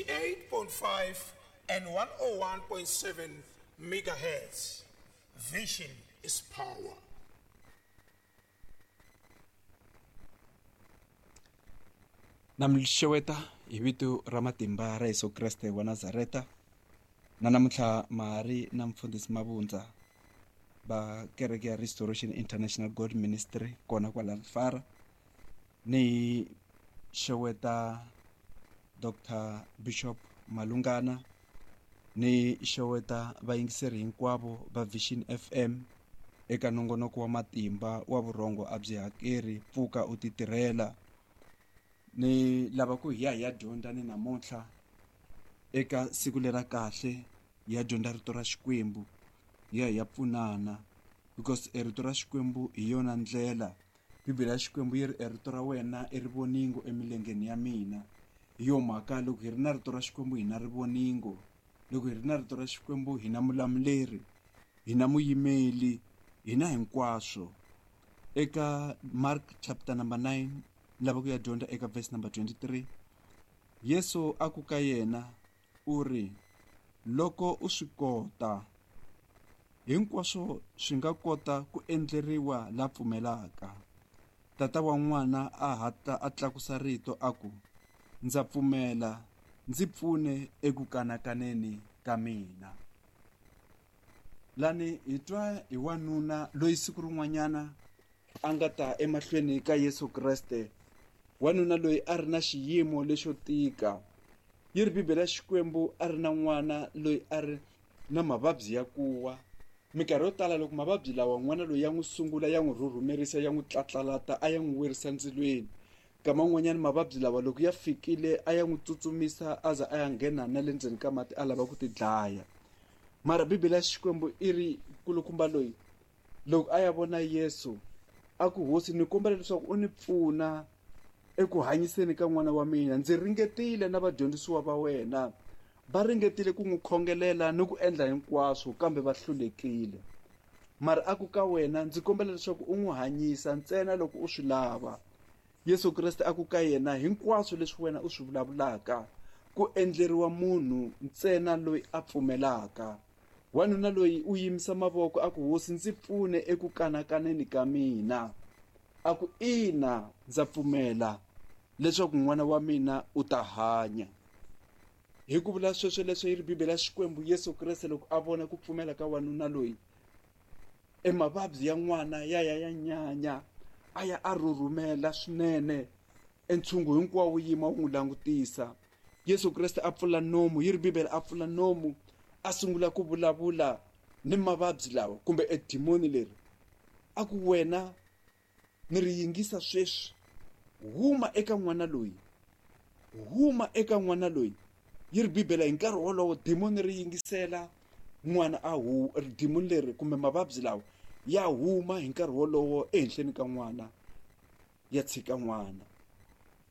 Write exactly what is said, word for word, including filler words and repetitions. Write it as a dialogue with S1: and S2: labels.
S1: eighty-eight point five and one oh one point seven megahertz. Vision is power.
S2: Na mi xeweta hi vito ra matimba ra Yesu Kreste wa Nazareta. Na namuntlha mahari na mfundhisi Mabundza va kereke ya Restoration International God Ministry kona kwala Rifara. Ni xeweta Doctor Bishop Malungana, ni xeweta vayingiseri hinkwavo va Vision F M eka nongonoko wa matimba wa vurhongo a byi hakeri, pfuka u titirhela. Ni lava ku hi ya hi ya dyondza ni namuntlha eka siku lera kahle, hi ya dyondza rito ra Xikwembu, hi ya hi ya pfunana, because e rito ra Xikwembu hi yona ndlela. Bibele ya Xikwembu yi ri e rito ra wena i rivoningo emilengeni ya mina. Hi yo mhaka loko hi ri na rito ra Xikwembu hi na rivoningo, loko hi ri na rito ra Xikwembu hi na mulamuleri, hi na muyimeli, hi na hinkwaswo. Eka Mark chapter number nine, lava ku ya dyondza eka verse number twenty-three, Yesu a ku ka yena u ri, loko u swi kota, hinkwaswo swi nga kota ku endleriwa la pfumelaka. Tata wa n'wana a hatla a tlakusa rito a ku, ndza pfumela, ndzi pfune eku kanakaneni ka mina. Lani hi twa hi wanuna loyi siku rin'wanyana a nga ta emahlweni ka Yesu Kreste. Wanuna loyi a ri na xiyimo lexo tika. Yi ri Bibele ya Xikwembu a ri na n'wana loyi a ri na mavabyi ya kuwa. Minkarhi yo tala loko mavabyi lawa n'wana loyi ya n'wi sungula ya n'wi rhurhumerisa, ya n'wi tlatlalata, a ya n'wi werisa ndzilweni. Nkama wun'wanyana mavabyi lawa loko ya fikile a ya n'wi tsutsumisa a za a ya nghena na le ndzeni ka mati a lava ku ti dlaya. Mara Bibele ya Xikwembu i ri kulukumba loyi loko a ya vona Yesu a ku, Hosi, ni kombela leswaku u ni pfuna eku hanyiseni ka n'wana wa mina. Ndzi ringetile na vadyondzisiwa va wena, va ringetile ku n'wi khongelela ni ku endla hinkwaswo kambe va hlulekile. Mara a ku ka wena, ndzi kombela leswaku u n'wi hanyisa ntsena loko u swi lava. Yesu Kreste a ku ka yena, hinkwaswo leswi wena u swi vulavulaka ku endleriwa munhu ntsena loyi a pfumelaka. Wanuna loyi u yimisa mavoko a ku, Hosi, ndzi pfune eku kanakaneni ka mina. A ku, ina, ndza pfumela leswaku n'wana wa mina u ta hanya. Hi ku vula sweswo leswo yi ri Bibele ya Xikwembu, Yesu Kreste loko a vona ku pfumela ka wanuna loyi, e mavabyi ya n'wana ya ya ya nyanya, a ya a rhurhumela swinene, e ntshungu hinkwawo wu yima wu n'wi langutisa. Yesu Kreste a pfula nomu, yi ri Bibele a pfula nomu, a sungula ku vulavula ni mavabyi lawa kumbe e dimoni leri. A ku, wena ni ri yingisa sweswi, huma eka n'wana loyi, huma eka n'wana loyi. Yi ri Bibele hi nkarhi wolowo dimoni ri yingisela n'wana a hu, dimoni leri kumbe mavabyi lawa ya huma hi nkarhi wolowo ehenhleni ka n'wana, ya tshika n'wana.